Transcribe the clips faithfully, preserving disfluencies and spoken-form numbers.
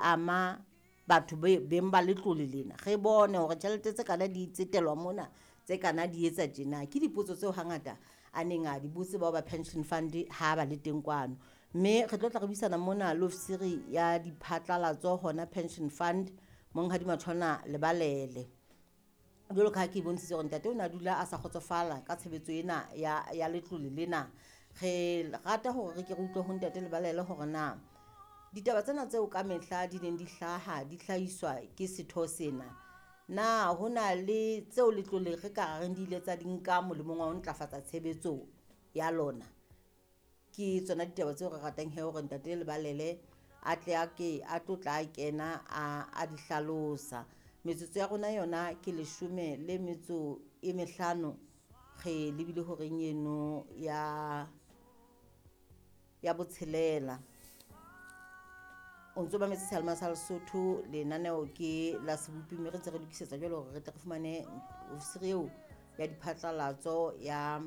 Ama batho beng ba letlole lena, re bone hore tjhelete tse kana di tsetelwa mona, tse kana di etsa tjena. Ke dipotso tseo hangata a neng a di botse bao ba pension fund ha ba le teng kwano. Mme re tlo tla re buisana mona le ofisiri ya diphatlalatso hona pension fund, Monghadi Matshona Lebalele. Jwalo ka ha ke bontshitse hore ntate o ne a dula a sa kgotsofala ka tshebetso ena ya, ya letlole lena. Re rata hore re ke re utlwe ho ntate Lebalele hore na ditaba tsena tseo ka mehla di neng di hlaha di hlahiswa ke setho sena, na ho na le tseo letlole re ka reng di ile tsa di nka molemong wa ho ntlafatsa tshebetso ya lona? Ke tsona ditaba tseo re ratang he hore ntate Lebalele a tle a ke a tlo tla kena a, a di hlalosa. Metsotso ya rona yona ke leshome le metso e mehlano, re lebile horeng eno ya, ya botshelela. O ntso mametse Seyalemoya sa Lesotho, lenaneo ke la Sebopi, mme re ntse re lokisetsa jwale hore re tle re fumane ofisiri eo ya diphatlalatso ya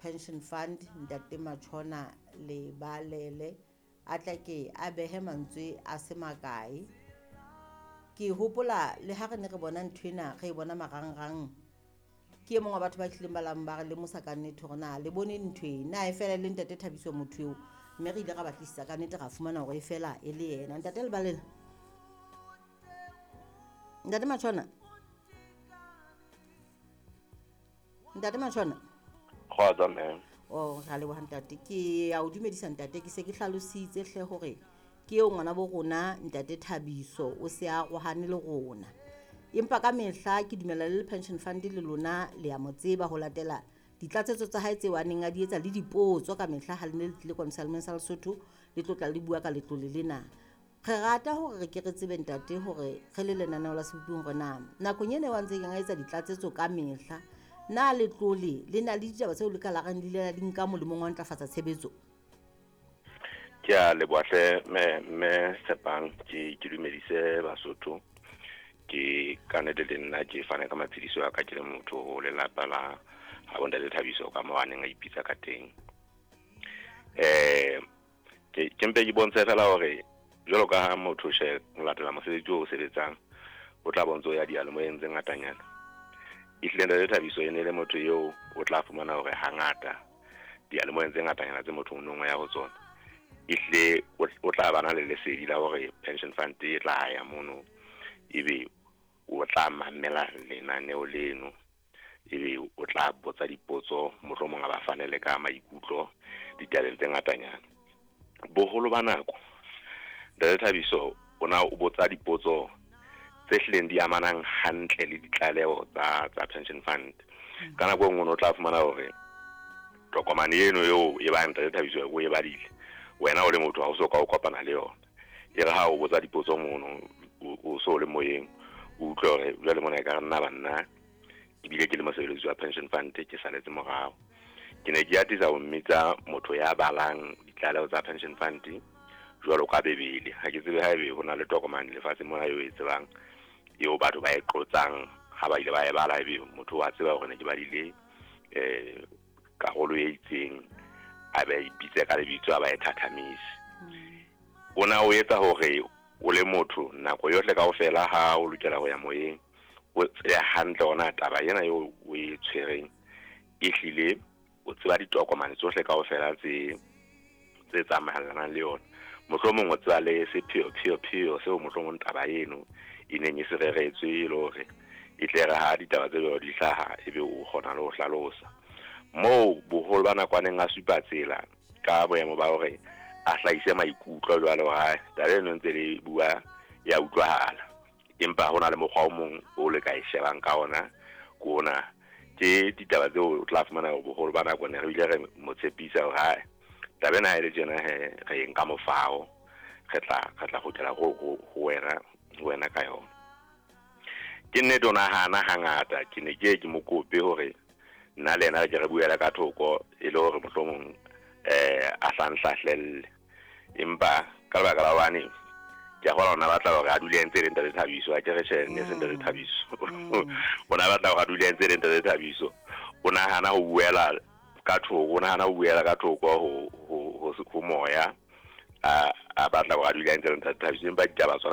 pension fund, ntate Matshona Lebalele, a tla ke a behe mantswe a se makae. Ke hopola le ha re ne re bona nthwena, re e bona marangrang, ke e mong wa batho ba hlileng ba lang ba re lemosa ka nnete hore na le bone ntho e, na e fela le ntate Thabiso motho eo, mme re ile ra batlisisa ka nnete ra fumana hore e fela e le yena. Ntate Lebalele, ntate Matshona, ntate Matshona. Kgotsa mme. Oh, ra leboha ntate. Ke a o dumedisa ntate, ke se ke hlalositse hle hore ke eo ngwana bo rona ntate Thabiso o se a arohane le rona. Empa ka mehla ke dumela le pension fund le lona le a mo tseba ho latela ditlatsetso tsa hae tseo a neng a di etsa le dipotso ka mehla ha le ne le tlile kwano Seyalemoyeng sa Lesotho le tlo tla le bua ka letlole lena. Re rata hore re ke re tsebe ntate hore re le lenaneo la Sebopi hore na nakong ena eo a ntseng a etsa ditlatsetso ka mehla, na letlole le na le ditaba tseo le ka la reng le ile la di nka molemong wa ntlafatsa tshebetso? Ke a leboha hle mme, mme Tshepang, ke, ke dumedise Basotho. Ke ka nnete le nna ke fane ka matshediso a ka ke le motho ho lelapa la ha bo ntate Thabiso ka moo a neng a ipitsa ka teng. Eh, ke, ke mpe ke bontshe fela hore jwalo ka ha motho she o latela mosebetsi o sebetsang, o tla bontsha o ya diyalemoyeng tse ngatanyana. Ehlile ntate Thabiso e ne le motho eo o tla fumana hore hangata diyalemoyeng tse ngatanyana tse motho o nong ya ho tsona, ehlile o, o tla ba na le lesedi la hore pension fund e tla ya mono, ebe o tla mamela lenaneo leno, ebe o tla botsa dipotso, mohlomong a ba fane le ka maikutlo ditabeng tse ngatanyana. Boholo ba nako ntate Thabiso o na o botsa dipotso tse hlileng di amanang hantle le ditlaleho tsa, tsa pension fund. Ka nako e nngwe o tla fumana hore tokomane eno eo e bang ntate Thabiso o e badile, wena o le motho ha o so ka o kopana le yona. E re ha o botsa dipotso mono, o, o so le moyeng, o utlwe hore jwale mona e ka re nna banna, ebile ke le mosebeletsi wa pension fund, ke saletse morao. Ke ne ke atisa ho mmitsa motho ya balang ditlaleho tsa pension fund jwalo ka Bebele. Ha ke tsebe haebe ho na le tokomane lefatsheng mona eo e tsebang, eo batho ba e qotsang ha ba ile ba e bala, ebe motho wa tseba hore ne ke badile, eh, karolo e itseng, a be a ipitse ka lebitso, a ba e thathamise. O na o etsa hore o le motho nako yohle kaofela ha o lokela ho ya moyeng, o tsebe hantle hore na taba ena eo o e tshwereng ehlile o tseba ditokomane tsohle kaofela tse, tse tsamaelanang le yona. Mohlomong o tseba le sepheo-pheo-pheo seo mohlomong taba eno e neng e se reretswe, e le hore e tle re ha ditaba tse jwalo di hlaha, ebe o kgona le ho hlalosa. Moo boholo ba nako a neng a supa tsela ka boemo ba hore a hlahise maikutlo jwalo, ha taba eno ntse le bua ya utlwahala, empa hona le mokgwa o mong o le ka e shebang ka ona, ke ona. Ke ditaba tseo o tla fumana hore boholo ba nako ne re bile re mo tshepisa hore ha taba ena ha e le tjena he, re e nka mofao, re tla, re tla kgutlela ho, ho, ho wena, ho wena ka yona. Ke nnete o nahana hangata, ke ne ke ye ke mo kope hore nna le yena re ke re buela ka thoko, e le hore mohlomong, eh, a hlanhlahlelle. Empa ka lebaka la hobane ke a kgolwa hore o na batla hore a dule a ntse e le ntate Thabiso, ha ke re tjhe, ne se ntate Thabiso. O na batla hore a dule a ntse e le ntate Thabiso. O nahana ho buela ka thoko, o nahana ho buela ka thoko ho, ho, ho, ho moya, a, a batla hore a dule a ntse e le ntate Thabiso, empa ditaba tsona